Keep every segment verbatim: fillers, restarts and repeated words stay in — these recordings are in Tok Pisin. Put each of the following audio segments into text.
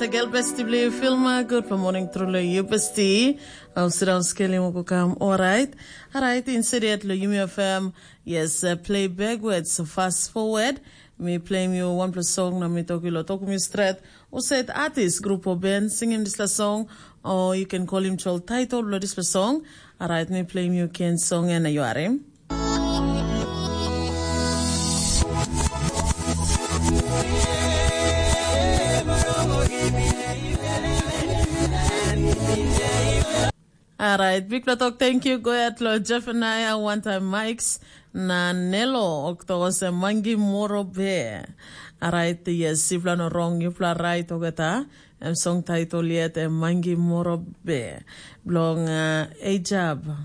Tegel besti bli filma, good for morning truly you besti. Au sidang skelim uku kam, alright. Alright, insidiet lo Yumi F M. Yes, uh, play backwards, so fast forward. Mi play mi one plus song na mi toki lo toku mi stret. U said artist, group or band singing this la song, or you can call him chol title lo this la song. Alright, mi play mi ken song and you are him. Alright, bikpela tok, thank you. Go ahead lo Jefaniah, one time mics, na Nelo, okto se mangi moro be. Alright, yes, sipla no wrong, yupla right, ogeta. Em song title yet, em mangi moro be. Blong uh, Ejab.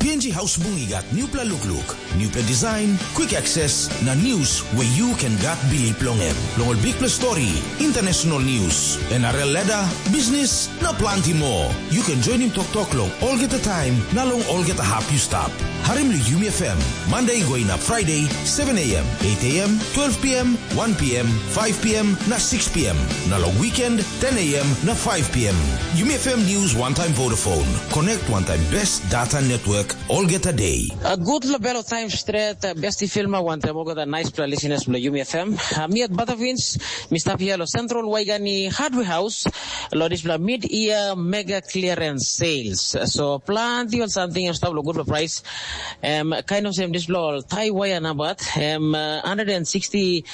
P N G House Bung i gat newpela lukluk, newpela design, quick access, na news where you can gat bilip long em. Long ol bikpela story, international news, N R L ladder, business, na planti more. You can join him tok tok long olgeta time, na long olgeta hap you stap. Harim li Yumi F M, Monday going up Friday, seven a.m., eight a.m., twelve p.m., one p.m., five p.m., na six p.m. Na long weekend, ten a.m. na five p.m. Yumi F M News one time Vodafone. Connect one time best data network olgeta day. A good label of time straight, uh, besti filma one time olgeta nice play listeners bla Yumi F M. Uh, mi at Butterfins, mi stap here lo Central Waigani Hardware House, lo dispela mid-year mega clearance sales. So planti ol something em stap lo good price. Um, kind of same dispela ol tie wire na bat, um, uh, one hundred sixty,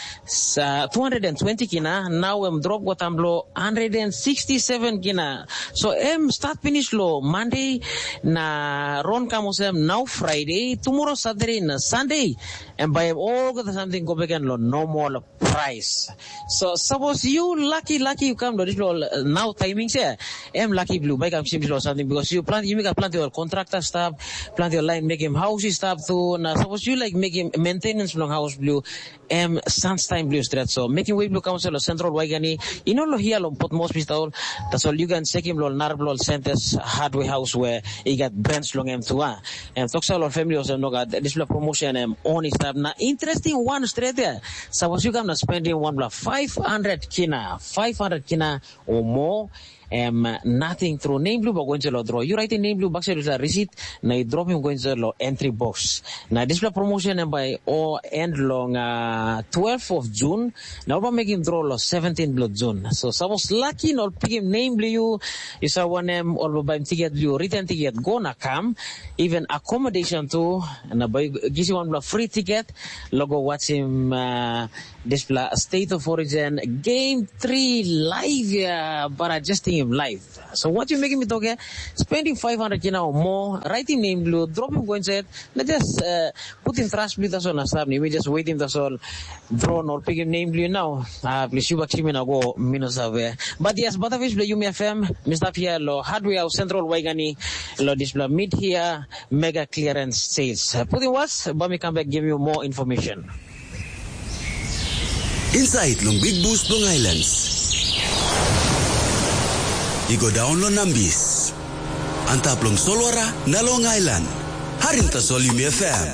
uh, two hundred twenty kina, now em drop go tam lo one hundred sixty-seven kina. So em start finish lo Monday na ron kam olsem now Friday, tomorrow Saturday na Sunday. Em bai em olgeta something go back lo normal price. So suppose you lucky, lucky you come to this lo uh, now timing se, em lucky blue bai kam sim lo something because you plant, you make a plant your contractor stop, plant your line make him house stop too. Na suppose you like make him maintenance long house blue, em sans time blue stretch. So making way blue council of Central Waigani, you know lo here lo put most pistol. That's all you can check him lo narb lo Centers Hardware House where he got branch long him too. Ah. Em toksa lo family olsem no gat dispela promotion em on i stap na interesting one straight there. Suppose you come na spending one bla five hundred kina, five hundred kina or more. Em nothing through name blue ba going to lo draw. You write in name blue back side receipt na you drop him going to lo entry box. Na dispela promotion em by o end long uh, twelve of June. Na ol ba mekim draw lo seventeen blo June. So suppose lucky na ol pikim name blo you, you sa wanem ol ba baim ticket blo you, return ticket go na kam. Even accommodation tu, na bai gisi wan bla free ticket lo go watchim uh, dispela State of Origin Game three live ya, bara just him live. So what you making me talk here? Spending five hundred kina or more, writing name blue, dropping coin set, na just uh, putting trust blue that's all na stop ni. We just waiting that's all. Draw nor picking name blue now. Ah, please you back me na go minus away. But yes, but of which you me F M, Mister Pierre lo, Hardware Central Waigani, lo display mid here, mega clearance sales. Uh, putting was, but me come back give you more information. Inside long Big Boost long Islands. I go down long Nambis. Antap long Solwara na long Island. Harim tasol Yumi F M.